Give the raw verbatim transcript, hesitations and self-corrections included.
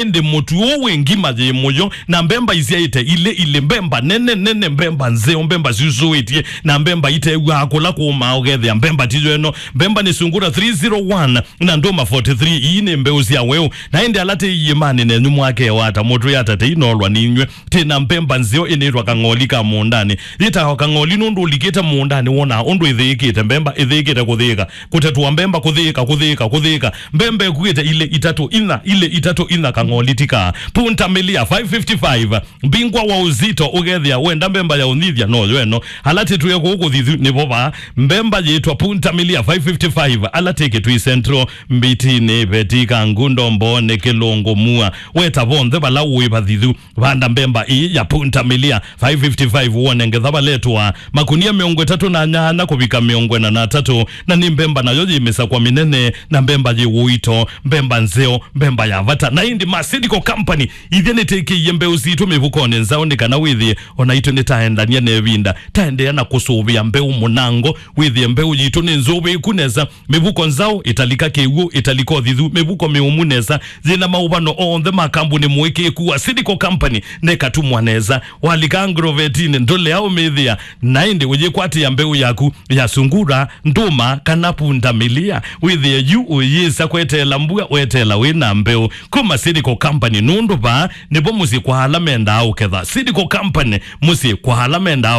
Ĩndĩ mũtu ũũ wĩ ngima yĩ mũyo, na mbemba isyaĩte ilĩ ilĩ, mbemba nene nene, mbemba nzeo, mbemba syusũĩtye, na mbemba itew'aa kũla kũũmaa, ũkethĩa mbemba tiyo ĩno. Mbemba nĩ Sungura three zero one na Ndũma forty-three. Ii nĩ mbeũ sya weũ. Na ĩndĩ ala tĩ iĩmanĩ nenyu mwakewata, mũtwĩata tei nolwa ninyw'ĩ. Tĩ na mbemba nzeo ĩnĩtwa kang'oli ka mũũndanĩ. Yĩtawa kang'oli nũndũ ũlikĩte mũũndanĩ wonaa ũndũ ĩthĩĩkĩte, mbemba ĩthĩĩkĩte kũthĩĩka. Kũtetwa mbemba, kũthĩĩka, kũthĩĩka, kũthĩĩka. Mbemba ĩkuĩte ilĩ itatũ ina, ilĩ itatũ ina, kang'oli ti kaa. Punta Milia five fifty-five, mbingwa wa uzito, ũkethĩa wenda mbemba ya ũnyithya, no yo ĩno. Ala tĩtwĩe kũũ kũthithu nĩvo vaa. Mbemba yĩtwa Punta Milia five fifty-five, ala tĩ Kitui Central, Mbitinĩ, Veti, Kangundo, Mbooni, Kĩlũngũ, Mua. Weta vonthe vala ũĩ vathithu. Vanda mbemba ii ya Punta Milia five fifty-five, wone ngetha valetwa makunia mĩongo ĩtatũ na nyanya kũvika mĩongo ĩna na atatũ, na nĩ mbemba nayo yĩ mĩsakwa mĩnene, na mbemba yĩ ũito, mbemba nzeo, mbemba ya vata. Na ĩndĩ ma Seedco Company, ithyĩ nĩtĩkĩie mbeũ sitũ mĩvukonĩ nzaũ, nĩ kana wĩthĩe ona itũ nĩtaendania na ĩvinda, taendeea na kũsũvĩa mbeũ mũnango, wĩthĩe mbeũ yitũ nĩ nzũvĩĩku nesa, mĩvuko nzaũ, ĩtalika kĩw'ũ, ĩtalika ũthithu, mĩvuko mĩũmu nesa, yĩna maũvano onthe ma kambuni mũĩkĩĩku wa Seedco Company, na ĩkatumwa nesa. Walika Agrovetini, ndũlea ũmĩthĩa, na ĩndĩ ũyĩkwatĩa mbeũ yaku ya Sungura, Ndũma, kana Punta Milia. Wĩthĩe yu ũyĩsa kweteela mbua, weteela wĩ na mbeũ. Kuma Seedco Company, nũndũ vaa nĩvo mũsyĩ kwa ala mendaa ũketha. Seedco Company, mũsyĩ kwa ala mendaa